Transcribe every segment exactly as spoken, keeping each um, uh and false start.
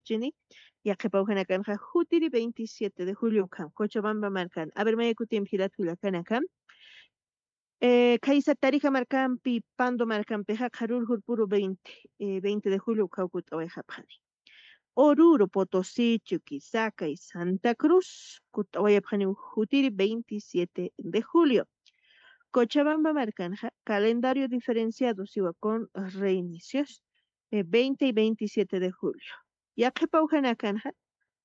Yatichini, yaqhipa ujanakanxa jutiri veintisiete de julio ukham, Cochabamba markan. A ver, maya kutimpi jilat kullakanaka. Eh, khaysa Tarija markampi, Pando markampixa, qharur jurpuru veinte, eh, veinte de julio ukhaw kut'awayxapxani. Oruro, Potosí, Chuquisaca y Santa Cruz, kut'awayapxani jutiri veintisiete de julio. Cochabamba markanxa, calendario diferenciado siwa con reinicios, eh, veinte y veintisiete de julio. Yaqhipa ujanakanxa,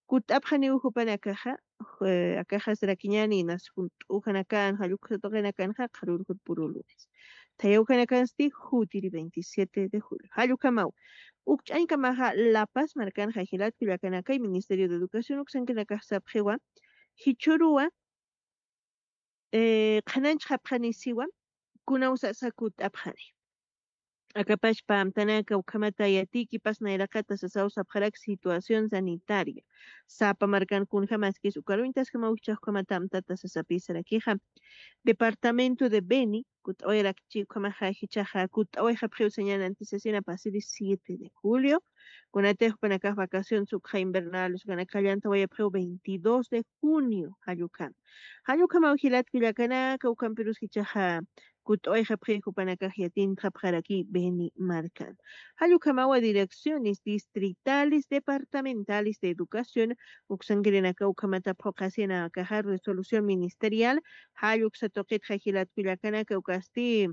kut'apxaniw jupanakaxa, eh, akaxa sarakiñäni, inas junt'u ujanakan, jalluksa tuqinakanxa, qharur jurpuru lunes. Thaya ujanakansti, jutiri veintisiete de julio. Jallukamaw. Ukch'añkamaxa, La Paz markanxa, jilat kullakanakay, Ministerio de Educación uksankinakax sapxiwa, jichhüruwa, eh, qhananchxapxani siwa, kunaw sasa kut'apxani. Akapachpa amtanaka ukhamata yatiykipas nayraqata sasaw sapxarak situación sanitaria. Sapa markan kunjamaskis ukaruñtaskamaw jichhax ukhamata amtata sasapï sarakixa. Departamento de Beni, kut'awayarakchi ukhamaxa jichhaxa, kut'awayxapxiw sañäni antisesina pasiri siete de julio. Kunatix jupanakax vacaciones ukxa invernales ukanaka llantawayapxiw veintidós de junio, jallukam. Jallukamaw jilat kullakanaka, ukampirus jichhaxa kut'awayxapxi jupanakax yatintxapxaraki Beni markan. Jallukamawa direcciones distritales, departamentales de educación, uksankirinaka ukhamata phuqhasinakaxa resolución ministerial, jalluksa tuqitxa jilat kullakanaka ukasti,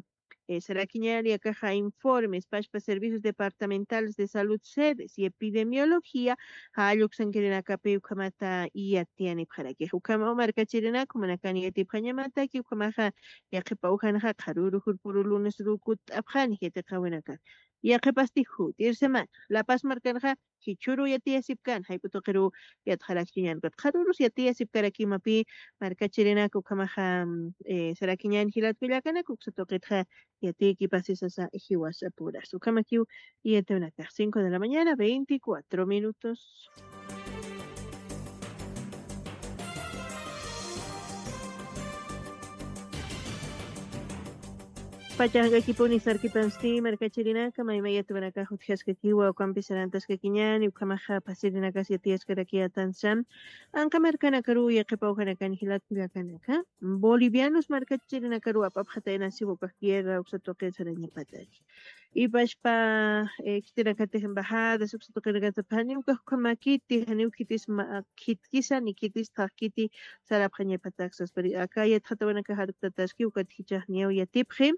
eh, sarakiñäni akaxa informes, pachpa servicios departamentales de salud, sedes y epidemiología, jalluksankirinakapi ukhamata yatiyanipxarakix. Ukhamaw markachirinak, jumanakani yatipxañamataki, ukhamaxa yaqhipa ujanxa, qharüru jurpuru lunesru kut'apxani yatiqäwinaka. Yaqhipasti jutir semana, La Paz markanxa, jichhüru yatiyasipkan, jayp'u tuqiru yatxarakchiñän, ukat qharürus yatiyasipkarakimapï, markachirinak ukhamaxa, mm, eh, sarakiñän jilat kullakanaka, uksa tuqitxa yatiykipasi sasa jiwasapuras. Ukhamakiw yatiwinakax, cinco de la mañana, veinticuatro minutos. Pachaqakipuni sarkipansti, markachirinaka, maymay yatiwanakax utjaskakiwa, ukampi sarantaskakiñäni, ukhamaxa pasirinakas yatiyaskaraki atansa. Anqa markanakaru, yaqhipa ujanakan jilat kullakanaka, bolivianos markachirinakaru ap'apxatayna siwa ukax guerra uksa tuqi sarañapataki. Ipachpa, eh, khitinakatix embajadas uksa tuqinakatix, janiw ukax ukhamakiti, janiw khitis ma-, khitkisa ni khitis thaqkiti sarapxañapatak saspari. Aka yatxatawanakax arktataski, ukat jichhax niyaw yatipxi,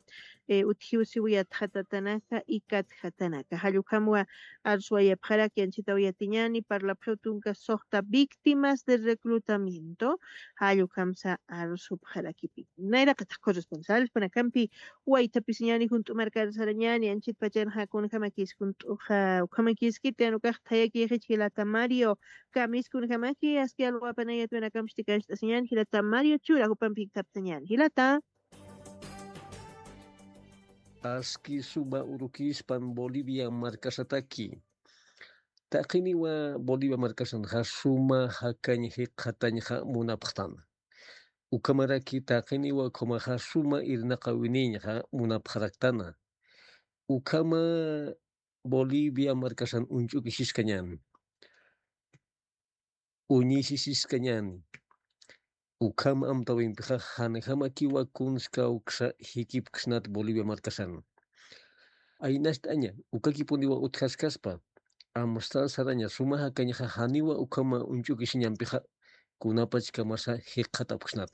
eh, utjiw siw yatxatatanaka, ikatjatanaka. Jallukhamwa arswayapxaraki, anchhitaw yatiñäni, parlapxiw tunka suxta víctimas de reclutamiento, jallukhamsa arsupxarakipi. Nayraqatax corresponsales panakampi waytapisiñäni, junt'u markar sarañäni, anchhit pachanxa kunjamakis, junt'uxa ukhamakiskiti, jan ukax thayakïxich jilata Mario, kamis kunjamaki, aski alwapanay yatiwinakampsti kast'asiñäni, jilata Mario Chura, jupampi jikxaptañäni, jilata. Aski suma urukispan Bolivia markasataki. Taqiniwa Bolivia markasanxa suma jakañ jikxatañxa munapxtana. Ukhamaraki taqiniwa ukhamaxa suma irnaqäwinïñxa munapxaraktana. Ukhama Bolivia markasan uñch'ukisiskañäni. Uñisisiskañäni. Ukhama amtäwimpixa janjamakiwa kunska uksa jikipksnat Bolivia markasan. Aynacht'aña, ukakipuniwa utjaskaspa, amstar saraña suma jakañxa janiwa ukhama uñch'ukisiñampixa kunapachkamasa jikxatapksnat.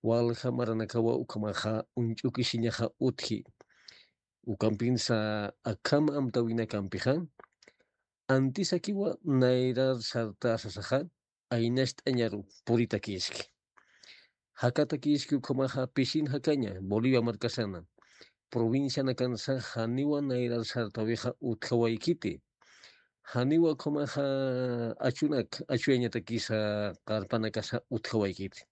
Walja maranakawa ukhamaxa uñch'ukisiñaxa utji. Ukampinsa akham amtäwinakampixa, antisakiwa nayrar sarta sasaxa, aynacht'añaru puritakïski. Jakatakïski ukhamaxa pisin jakaña Bolivia markasana. Provincianakansa janiwa nayrar sartäwixa utjawaykiti. Janiwa ukhamaxa achunak, achuyañatakisa qarpanakasa utjawaykiti.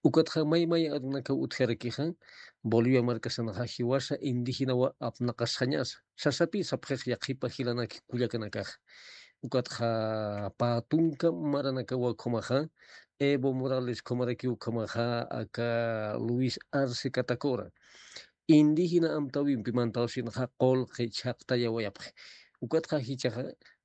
Ukatxa maymay arunakaw utjarakixa, Bolivia markasanxa jiwasa indígenawa apnaqasxañasa. Sasapi sapxix yaqhipa jilanak kullakanakaxa. Ukatxa pä tunka maranakawa ukhamaxa, Evo Morales ukhamarakiw ukhamaxa, aka Luis Arce Catacora. Indígena amtäwimpi mantawsinxa qullqi chhaqtayawayapxi. Ukatxa jichhaxa